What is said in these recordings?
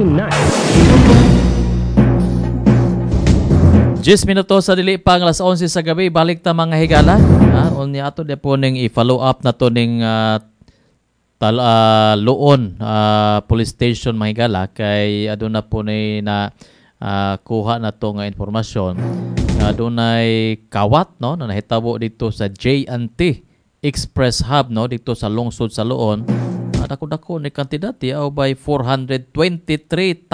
Tonight. 10 minuto sa dili pa ang alas 11 sa gabi, balik ta, mga higala. Unya ato de po ning i-follow up na to ning Loon Police Station, mga higala, kay aduna po ni na kuha na to nga impormasyon nga adunay kawat, no, na nahitabo dito sa J&T Express Hub, no, dito sa lungsod sa Loon. Dako-dako ni kantidad di by 423,000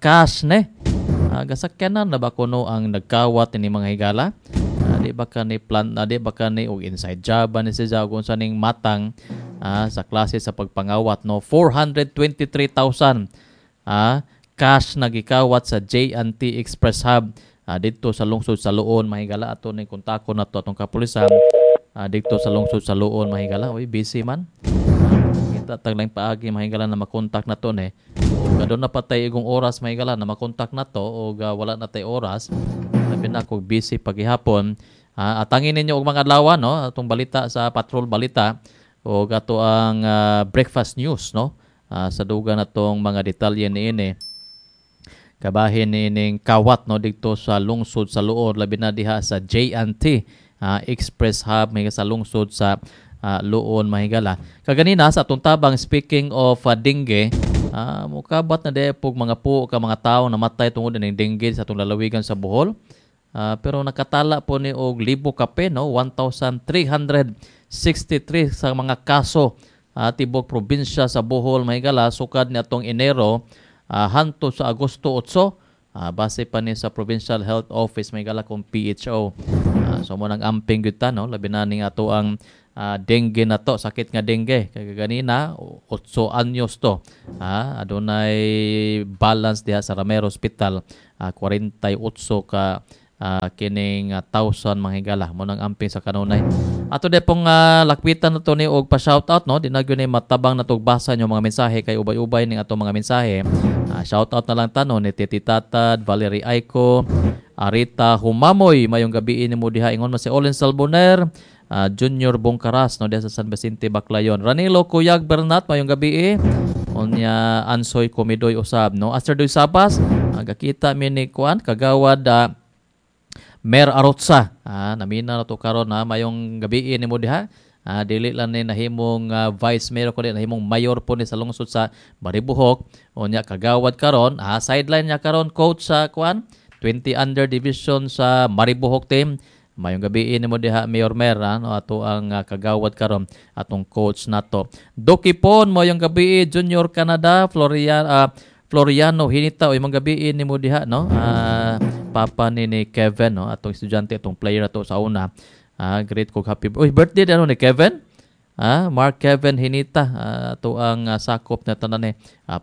cash ne. Gasakyanan na ba kuno ang nagkawat ni, mga higala? Di ba ka ni plan, di ba ka ni og inside job ba ni siya kung sa ning matang sa klase sa pagpangawat, no? 423,000 cash na gikawat sa J&T Express Hub didto sa lungsod sa Loon, mga higala. Ato ning kontakon nato atong kapulisan didto sa lungsod sa Loon, mga higala. Uy, busy man. Kita taglang paagi, mga higala, na makontak na to ni. Ug aduna pa tay igong oras, mga higala, na makontak na to og wala na tay oras. Labi na kog busy pagihapon. Atangin ninyo og mga adlaw, no, atong balita sa Patrol Balita o ato ang breakfast news, no. Sa duga na tong mga detalye niini kabahin niining kawat, no, didto sa lungsod sa Loon, labi na diha sa J&T Express Hub may sa lungsod sa Loon, mga higala. Kaganina sa atong tabang, speaking of dengue, mukabat na di pog mga po ka mga tao namatay tungod ning dengue sa atong lalawigan sa Bohol. Pero nakatala po ni og libo kape, no, 1,363 sa mga kaso tibok probinsya sa Bohol, mga higala, sukad ni atong Enero hangtod sa Agosto 8, base pa ni sa Provincial Health Office, mga higala, kung PHO. So mo nang amping gyud ta, no, labi na ning ato ang dengue na to, sakit nga dengue. Kay ganina 8 anyos to. Adunay balance diha sa Ramero Hospital, 48 ka kining thousand, mga higala. Mo nang amping sa kanunay. Ato de pong lakwitan na to ni og pa-shoutout, no. Di na gyud ni matabang na basa nyo mga mensahe kay ubay-ubay ning atong mga mensahe. Shoutout na lang tano ni Titi Tatad, Valerie Aiko, Arita Humamoy, mayong gabi nimo diha, ingon man si Olin Salboner, Junior Bongkaras, no, diha sa San Vicente, Baclayon. Ranilo Kuyag Bernat, mayong gabi. Unya Ansoy Komidoy usab, no. Aster Doy Sabas, gakita mi ni kuan kagawad Mer Arotsa. Namina na to karon ha, mayong gabi nimo diha. Dili lang ni nahimong vice mayor kundi nahimong mayor po ni sa lungsod sa Maribojoc. Unya kagawad karon, sideline niya karon, coach sa kuan 20 under division sa Maribojoc team. Mayong gabi nimo diha, Mayor Mer, no, ato ang kagawad karon, atong coach nato. Dokipon, mayong gabi. Junior Canada, Floriano Hinita, o mayong gabi nimo diha, no. Papa ni Kevin, no, atong estudyante, atong player ato sa una. Great ko happy. Uy, birthday ano ni Kevin? Mark Kevin Hinita, ato ang sakop na tanan ni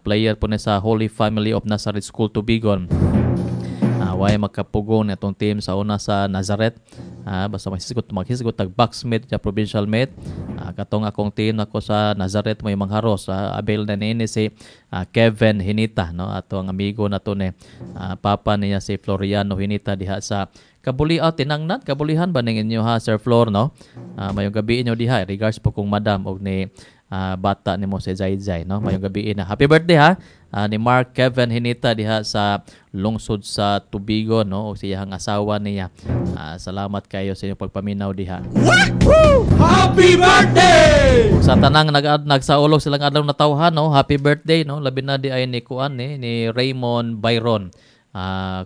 player po ni sa Holy Family of Nazareth School Tubigon. Way makapugong atong team sa una sa Nazareth. Basta maghisgot tag box mate sa provincial mate. Katong akong team nako sa Nazareth may mangharos. Abel na niini si Kevin Hinita, no, ato ang amigo nato ni papa niya si Floriano Hinita diha sa Kabuliaw, tinangnan Kabulihan ba ning inyo ha, Sir Flor, no? Mayong gabi inyo diha. Regards po kung madam og ni bata nimo si Zay Zay, no. Mayong gabi na. Happy birthday ha ni Mark Kevin Hinita diha sa lungsod sa Tubigon, no, og siyang asawa niya. Salamat kayo sa inyong pagpaminaw diha. Happy birthday! Sa tanang nagsaulog silang adlaw na tawhan, no, happy birthday, no. Labi na di ay ni kuan ni Raymond Byron.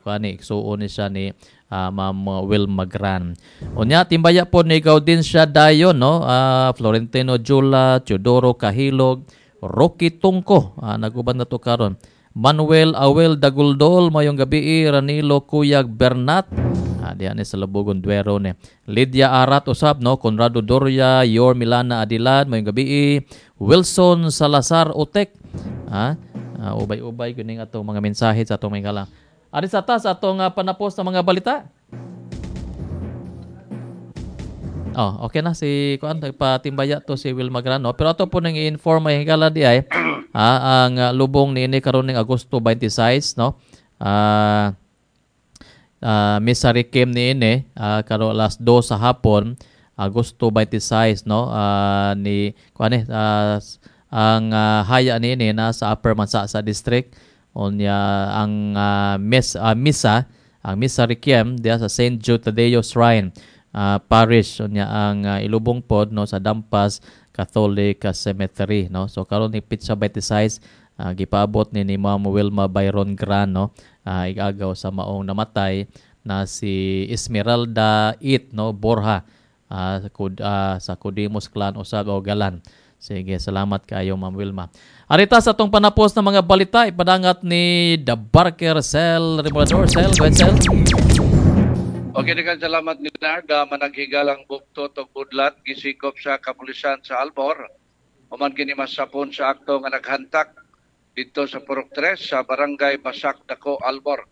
Kuan ni igsuon ni siya ni Ma'am Wilma Gran. Unya timbaya po ni Gaudencia Dayon, no, Florentino Jula, Teodoro Kahilog, Rocky Tungko, naguban na to karon. Manuel Awel Daguldol, mayong gabi. Ranilo Kuyag Bernat, diyan ni sa Labugon Duero ni. Lydia Arat usab, no, Conrado Doria, Yor Milana Adilad, mayong gabi. Wilson Salazar Otek. Ubay-ubay kuning atong mga mensahe sa atong mga higala. Ari sa tas atong panapos na mga balita. Oh, okay na si kuan, nagpatimbaya to si Wilma Grano. Pero ato po nang i-inform, mga higala, di ay ang lubong niini karon ning Agosto 26, no. Misa Requiem niini karon alas 2 sa hapon, Agosto 26, no, ni kuan Ang haya niini na sa Upper Mansasa District. Unya ang misa, ang Misa Requiem diha sa St. Jude Tadeo Shrine Parish. Unya ang ilubong pod, no, sa Dampas Catholic Cemetery, no. So karon ni petsa 26, gipaabot ni Ma'am Wilma Byron Gran, no, igagaw sa maong namatay na si Esmeralda It, no, Borja, sa Codimos clan usab o Galan. Sige, salamat kaayo, Ma'am Wilma. Arita sa atong panapos na mga balita, ipadangat ni The Barker Sel Remolador. Sel, go ahead, Sel. Okay, daghang salamat, Leonard. Managhigalang buktot og budlat gisikop sa kapulisan sa Albor. Human kini masapon sa akto nga naghantak dito sa Purok 3 sa Barangay Basak Dako, Albor.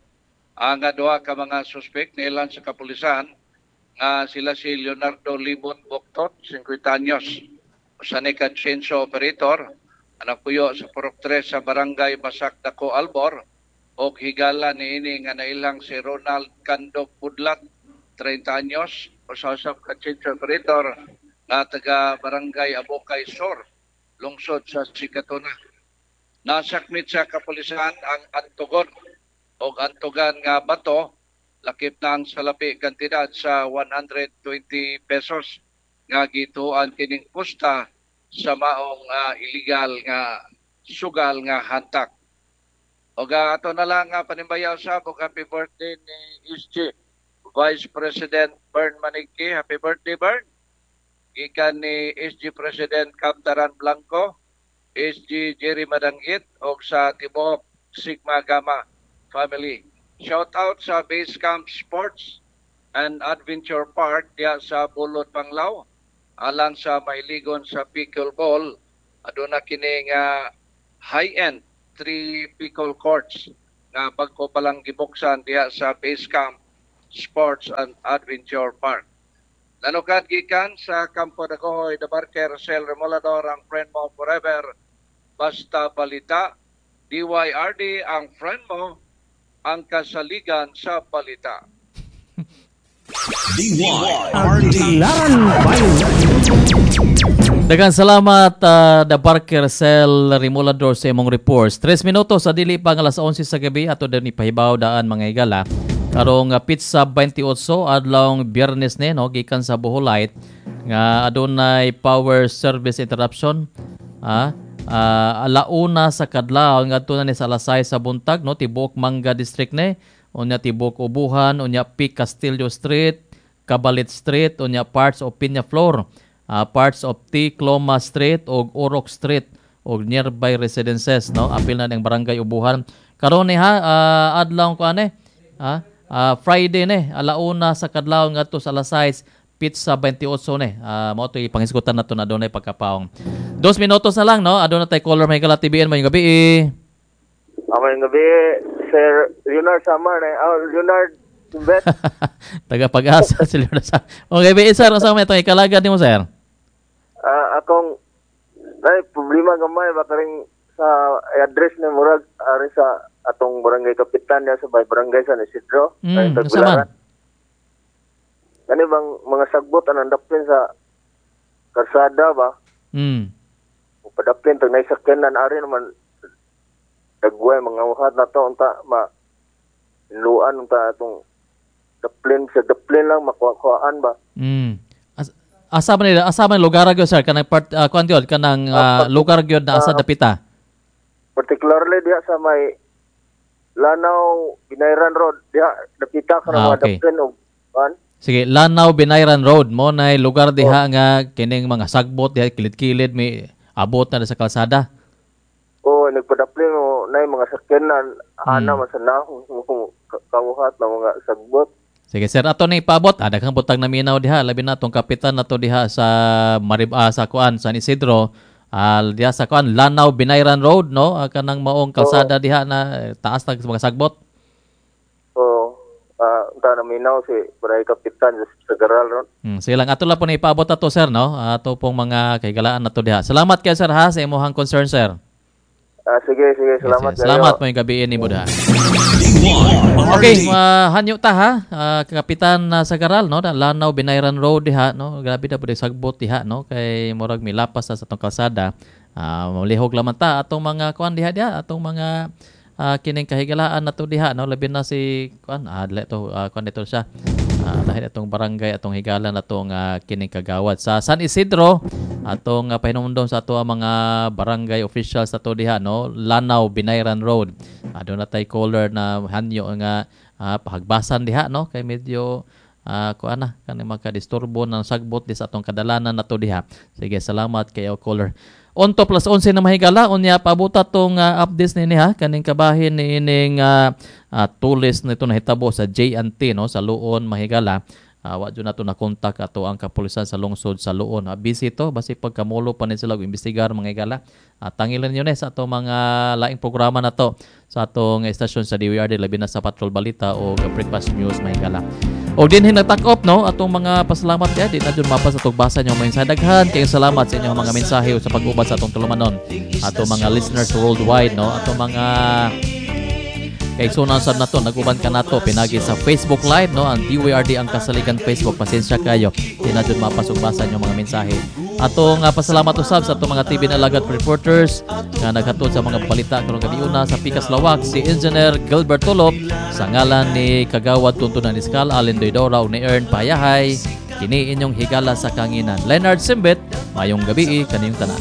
Ang duha ka mga suspect niilan sa kapulisan nga sila si Leonardo Libot Buktot, 50 anyos, usa ni ka chainsaw operator, puyo sa Purok 3 sa Barangay Basak Dako, Albor, og higala niini nga nailang si Ronald Candog Budlat, 30 anyos, usa usab ka chainsaw operator nga taga Barangay Abokay Sur, lungsod sa Sikatuna. Nasakmit sa kapulisan ang antugon og antugan nga bato, lakip na ang salapi kantidad sa 120 pesos nga gituan kining pusta sa maong illegal nga sugal nga hantak. Og ato na lang nga panimbayaw sa og happy birthday ni SG Vice President Bern Manigki. Happy birthday, Bern. Gikan ni SG President Kaptaran Blanco, SG Jerry Madanggit og sa tibuok Sigma Gamma family. Shout out sa Base Camp Sports and Adventure Park diya sa Bulot Panglao, alang sa mahiligon sa pickleball. Aduna kini nga high-end 3 pickle courts nga bag-o pa lang gibuksan diha sa Base Camp Sports and Adventure Park. Nanukad gikan sa Campo de Cohoy, The Barker, Sel Remolador, ang friend mo forever. Basta balita, DYRD ang friend mo, ang kasaligan sa balita. DYRD. Daghang salamat, The Barker Sel Remolador, sa imong reports. 3 minuto sa dili pa nga alas 11 sa gabi, ato din ipahibaw daan, mga higala. Karong petsa 28, adlawng Biyernes ni, no, gikan sa Bohol Light nga adunay power service interruption alauna sa kadlaw ngadto na ni sa alas 6 sa buntag, no, tibuok Manga District ni, unya tibuok Ubuhan, unya P. Castillo Street, Cabalit Street, unya parts of Peñaflor, parts of T. Cloma Street ug Orok Street ug nearby residences, no. Apil na ning Barangay Ubuhan. Karon ni ha, adlaw ko ane Friday ni, alauna sa kadlaw ngadto sa alas 6, petsa 28 ni. Mao to ipanghisgutan nato na adunay pagkapaong. 2 minutos na lang, no. Aduna tay caller, may higala TBN, maayong gabi. Maayong gabi, Sir Leonard Samar. Eh. Oh, Leonard Bet. Taga Pag-asa si Leonard sa. Okay, bi sir, unsa may itong ikalagad nimo, sir? Akong ay problema gamay ba karing sa address ni murag ari sa atong barangay kapitan niya sa bay barangay San Isidro. Ay, Unsa man? Tagbilaran. Kani bang mga sagbot anang daplin sa karsada ba? Padaplin tag naisakyanan ari naman dagway mga uhat na to, unta ma luan unta atong daplin sa daplin lang makuha-kuhaan ba. Asa man nila, asa man lugar gyud, sir, kanang part kuan gyud kanang lugar gyud na asa dapita? Particularly diha sa may Lanao Binayran Road diha dapita ka mga daplin og kuan. Sige, Lanao Binayran Road mo nay lugar diha nga kining mga sagbot diha kilid-kilid may abot na sa kalsada. O nagpadaplin mo nay mga sakyanan ana man sa nahong kawuhat na mga sagbot. Sige sir, ato ni ipaabot. Daghang butang naminaw diha, labi na tong kapitan nato diha sa Marib sa kuan San Isidro. Diha sa kuan Lanao Binayran Road, no, kanang maong kalsada diha na taas na mga sagbot. O unta naminaw si barangay kapitan sa Garal ron. Sige lang, ato lang po ni ipaabot ato, sir, no. Ato pong mga kahigalaan nato diha. Salamat kay sir ha sa imong concern, sir. Sige sige, salamat. Yes, salamat mo yung gabi ni Buddha. Okay, hanyo ta ha. Kapitan na sa Garal, no, Lanao Binayran Road diha, no. Grabe na pud sagbot diha, no, kay murag milapas sa atong kalsada. Malihog lamang ta atong mga kuan diha diha atong mga kining kahigalaan nato diha, no, labi na si kuan dili to kuan dito siya. Lahi atong barangay atong higala natong kining kagawad sa San Isidro atong pahinumdom sa ato ang mga barangay officials ato diha, no, Lanao Binayran Road. Doon na tay caller na hanyo nga pahagbasan diha, no, kay medyo kuan na kani makadisturbo ng sagbot di sa atong kadalanan nato diha. Sige, salamat kay caller. Onto plus 11 na mahigala unya pabuta tong updates nini ha kaning kabahin ni ining tulis nito nahitabo sa J&T, no, sa Luon mahigala. Wa jud nato na kontak ato ang kapulisan sa lungsod sa Luon. Busy to basi pagkamulo pa ni sila og imbestigar mga higala. Tangilan niyo ni sa ato mga laing programa nato sa atong estasyon sa DWRD labi na sa Patrol Balita o Breakfast News mga higala. O dinhi nagtak-op, no, atong mga pasalamat ya di na jud mapas atong basa niyo mga mensahe. Daghan kayong salamat sa inyong mga mensahe o sa pag-uban sa atong tulumanon. Atong mga listeners worldwide, no, atong mga kaigsunan sad nato naguban ka nato pinagi sa Facebook Live, no, ang DWRD ang Kasaligan Facebook. Pasensya kayo di na jud mapas og basa inyong mga mensahe. Atong pasalamat usab sa atong mga TV na alagad reporters nga naghatod sa mga balita karong gabi una sa Pikas Lawak, si Engineer Gilbert Tulop sa ngalan ni Kagawad Tuntunan Iskal, Allen Doydora ug ni Ern Payahay. Kini inyong higala sa kanginan, Leonard Simbit. Mayong gabi kaniyong tanan.